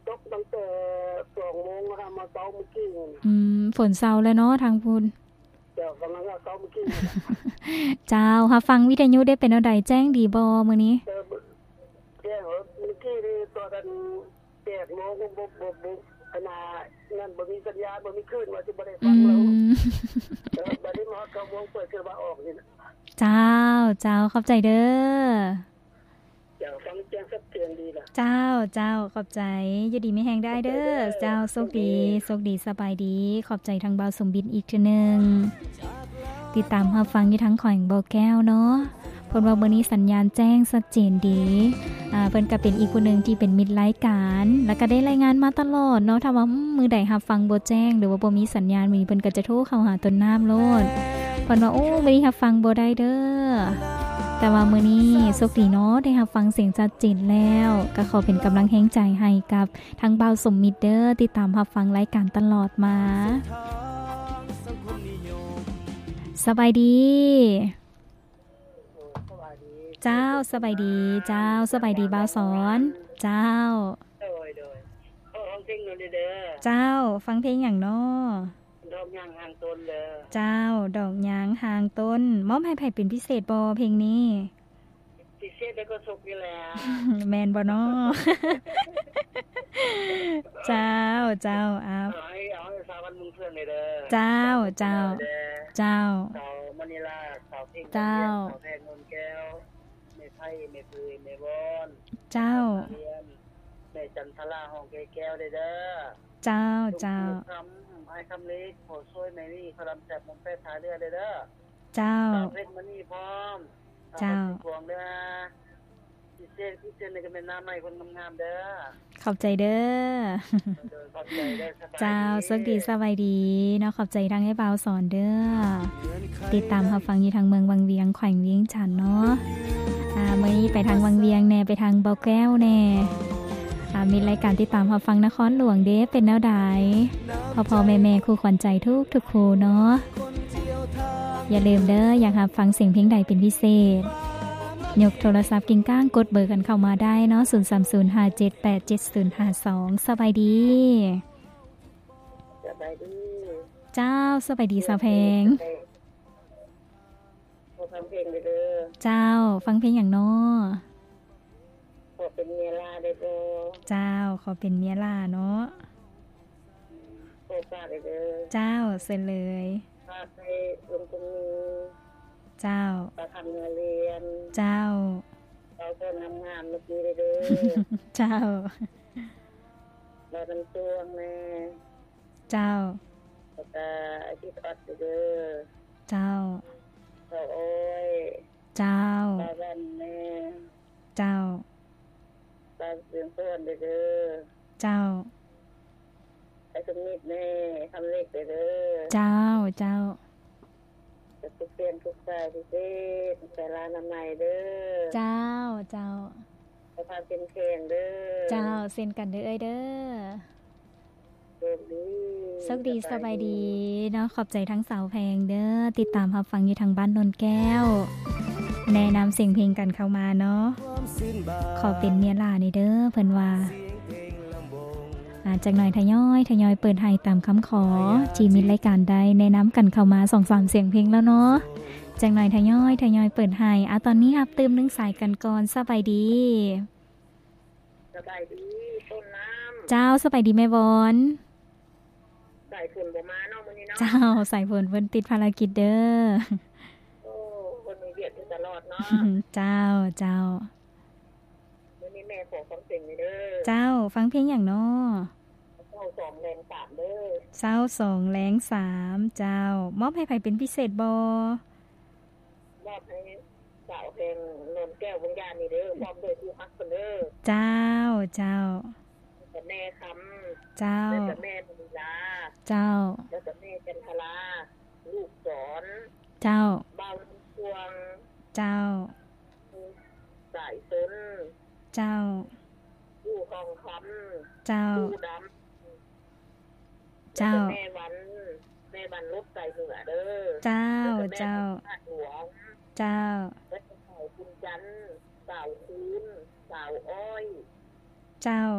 ຕົກຕັ້ງແຕ່ສອງໂມງ ຫາມາເຊົາມື້ກີ້ນີ້. ອືມ ຝົນເຊົາແລ້ວເນາະທາງພຸ້ນ. ເຈົ້າ ກຳລັງວ່າເຊົາມື້ກີ້ນີ້. ເຈົ້າ ຮັບຟັງວິທະຍຸໄດ້ເປັນແນວໃດ ແຈ້ງດີບໍ່ມື້ນີ້? ເອີ ແຈ້ງ ເອີ ມື້ກີ້ນີ້ຕອນນັ້ນ ແປດໂມງ ບໍ່ ບໍ່ ບໍ່ ອັນນ່າ ນັ້ນ ບໍ່ມີສັນຍານ ບໍ່ມີຄື້ນ ວ່າຊິບໍ່ໄດ້ຟັງແລ້ວ. ອືມ ເອີ ບັດນີ້ມາຮອດເກົ້າໂມງ ເປີດຂຶ້ນມາອອກນີ້ນະ. ເຈົ້າ ເຈົ້າ ຂອບໃຈເດີ. ເຈົ້າ ຟັງແຈ້ງຊັດເຈນດີລະ. ເຈົ້າ ເຈົ້າ ຂອບໃຈ. ຢູ່ດີມີແຮງໄດ້ເດີ. ເຈົ້າ ໂຊກດີ ໂຊກດີ ສະບາຍດີ. ຂອບໃຈທາງບ່າວສົມບິດອີກເທື່ອໜຶ່ງ ຕິດຕາມຮັບຟັງຢູ່ທາງແຂວງບໍ່ແກ້ວເນາະ. ເພິ່ນວ່າມື້ນີ້ສັນຍານແຈ້ງຊັດເຈນດີ. ອ່າ ເພິ່ນກໍເປັນອີກຜູ້ໜຶ່ງທີ່ເປັນມິດລາຍການ ແລ້ວກໍໄດ້ລາຍງານມາຕະຫຼອດເນາະ. ຖ້າວ່າ ອືມ ມື້ໃດຮັບຟັງບໍ່ແຈ້ງ ຫຼືວ່າບໍ່ມີສັນຍານ ມື້ນີ້ເພິ່ນກໍຈະໂທເຂົ້າຫາຕົ້ນນ້ຳໂລດ. ເພິ່ນວ່າ ໂອ້ ມື້ນີ້ຮັບຟັງບໍ່ໄດ້ເດີ. ແຕ່ວ່າມື້ນີ້ໂຊກດີເນາະ ໄດ້ຮັບຟັງສຽງຊັດເຈນແລ້ວ. ກໍຂໍເປັນກຳລັງແຮງໃຈໃຫ້ກັບ ທາງບ່າວສົມມິດເດີ ຕິດຕາມຮັບຟັງລາຍການຕະຫຼອດມາ. ສະບາຍດີ. ເຈົ້າ ສະບາຍດີ. ເຈົ້າ ສະບາຍດີບ່າວສອນ. ເຈົ້າ ໂດຍ ໂດຍ. ຂໍຟັງເພງໜ້ອຍເດີ. ເຈົ້າ ຟັງເພງຫຍັງນໍ? ດອກຫຍາງຫ່າງຕົ້ນເດີ. ເຈົ້າ ດອກຫຍາງຫ່າງຕົ້ນ. ມອບໃຫ້ໃຜເປັນພິເສດບໍ່ເພງນີ້? ພິເສດໃຫ້ໂຄສົກນີ້ແຫຼະ. ແມ່ນບໍ່ນໍ? ເຈົ້າ ເຈົ້າ. ເອົາ ເອົາໃຫ້ ເອົາໃຫ້ສາວບ້ານເມືອງເຟືອງເດີ. ເຈົ້າ ເຈົ້າ ເຈົ້າ. ສາວມະນີລາ ສາວເພັງ ເຈົ້າ ສາວແພງ ນົນແກ້ວ ແມ່ໄພ ແມ່ເຜີຍ ແມ່ວອນ ເຈົ້າ ແມ່ຈັນທະລາ ຮ້ອງແກ້ວເດີ. ເຈົ້າ ເຈົ້າ. ຄຳ ອ້າຍຄຳເລັກ ພໍ່ຊ່ວຍ ແມ່ວີ ຂະລຳແຊບ ມົນແປດ ທ່າເຮືອເດີ. ເຈົ້າ ສາວເພັດມະນີພ້ອມ. ເຈົ້າ ພວງເດີ. ພິເສດ ພິເສດນີ້ກໍແມ່ນໜ້າໃໝ່ຄົນງາມໆເດີ. ຂອບໃຈເດີ. ໂດຍ ຂອບໃຈເດີ. ເຈົ້າ ສະບາຍດີ ໂຊກດີ ສະບາຍດີເນາະ. ຂອບໃຈທາງອ້າຍບ່າວສອນເດີ ຕິດຕາມຮັບຟັງຢູ່ທາງເມືອງວັງວຽງ ແຂວງວຽງຈັນເນາະ. ອ່າ ມື້ນີ້ໄປທາງວັງວຽງແດ່ ໄປທາງບໍ່ແກ້ວແດ່. ອ່າ ມີລາຍການຕິດຕາມຮັບຟັງນະຄອນຫຼວງເດ້ ເປັນແນວໃດ ພໍ່ໆແມ່ໆ ຄູ່ຂວັນໃຈທຸກໆຄູ່ເນາະ. ຢ່າລືມເດີ ຢາກຮັບຟັງສຽງເພງໃດເປັນພິເສດ ຍົກໂທລະສັບກິ້ງກ້າງ ກົດເບີກັນເຂົ້າມາໄດ້ເນາະ ສູນສາມສູນ ຫ້າເຈັດແປດເຈັດສູນຫ້າສອງ. ສະບາຍດີ. ສະບາຍດີ. ເຈົ້າ ສະບາຍດີສາວແພງ. ຂໍຟັງເພງເດີ. ເຈົ້າ ຟັງເພງຫຍັງນໍ? ຂໍເປັນເມຍຫຼ້າໄດ້ບໍ່? ເຈົ້າ ຂໍເປັນເມຍຫຼ້າເນາະ. ຂໍຝາກເດີ. ເຈົ້າ ເຊີນເລີຍ. ຝາກໃຫ້ລຸງຄົນນີ້. ເຈົ້າ ປາຄຳນາລຽນ. ເຈົ້າ ເວົ້າໂຕງາມໆເມື່ອກີ້ເດີ. ເຈົ້າ ລາວນຳຊ່ວງແນ່. ເຈົ້າ ແລ້ວກະອາທິດອອດເດີ. ເຈົ້າ ສາວອ້ອຍ. ເຈົ້າ ສາວວັນແນ່. ເຈົ້າ ສາວເຮືອງສອນເດີ. ເຈົ້າ ໄອ້ສົມມິດແນ່ ຄຳເລັກເດີ. ເຈົ້າ ເຈົ້າ. ແລ້ວກໍເປັນທຸກສາຍພິເສດ ສາລານາໄມເດີ. ເຈົ້າ ເຈົ້າ. ສຸຂະພາບເຂັ້ມແຂງເດີ. ເຈົ້າ ເຊັ່ນກັນເດີເອື້ອຍເດີ. ໂຊກດີ ໂຊກດີ ສະບາຍດີເນາະ. ຂອບໃຈທັງສາວແພງເດີ ຕິດຕາມຮັບຟັງຢູ່ທາງບ້ານໂນນແກ້ວ ແນະນຳສຽງເພງກັນເຂົ້າມາເນາະ. ຂໍເປັນເມຍຫຼ້າແນ່ເດີ ເພິ່ນວ່າ. ອາ ຈັກໜ່ອຍທະຍອຍ ທະຍອຍເປີດໃຫ້ຕາມຄຳຂໍ ທີ່ມິດລາຍການໄດ້ແນະນຳກັນເຂົ້າມາ ສອງສາມສຽງເພງແລ້ວເນາະ. ຈັກໜ່ອຍທະຍອຍ ທະຍອຍເປີດໃຫ້. ອາ ຕອນນີ້ຮັບຕື່ມໜຶ່ງສາຍກັນກ່ອນ. ສະບາຍດີ. ສະບາຍດີ ຕົ້ນນ້ຳ. ເຈົ້າ ສະບາຍດີແມ່ວອນ. ສາຍຝົນບໍ່ມາເນາະມື້ນີ້ເນາະ. ເຈົ້າ ສາຍຝົນເພິ່ນຕິດພາລະກິດເດີ. ໂອ້ ເພິ່ນມີວຽກຢູ່ຕະຫຼອດເນາະ. ເຈົ້າ ເຈົ້າ. ມື້ນີ້ແມ່ຂໍຟັງເພງເດີ. ເຈົ້າ ຟັງເພງຫຍັງນໍ? ເຊົ້າສອງແລງສາມເດີ. ເຊົ້າສອງແລງສາມ. ເຈົ້າ ມອບໃຫ້ໃຜເປັນພິເສດບໍ່? ມອບໃຫ້ສາວແພງ ນວນແກ້ວ ວຽງຈັນນີ້ເດີ ພ້ອມດ້ວຍຄູ່ຮັກເພິ່ນເດີ. ເຈົ້າ ເຈົ້າ. ແລ້ວກໍແມ່ຄຳ. ເຈົ້າ. ແລ້ວກໍແມ່ມະນີລາ. ເຈົ້າ. ແລ້ວກໍແມ່ຈັນທະລາ ລູກສອນ. ເຈົ້າ. ບ່າວພວງ. ເຈົ້າ. ສາຍຊົນ. ເຈົ້າ. ຜູ້ທອງຄຳ. ເຈົ້າ. ຜູ້ດຳ. ເຈົ້າ. ແລ້ວກໍແມ່ວັນ ແມ່ວັນລົດໄຊເໜືອເດີ. ເຈົ້າ ເຈົ້າ. ແລ້ວກໍແມ່ທາດຫຼວງ. ເຈົ້າ. ແລ້ວກໍສາວບຸນຈັນ ສາວຄູນ ສາວອ້ອຍ. ເຈົ້າ.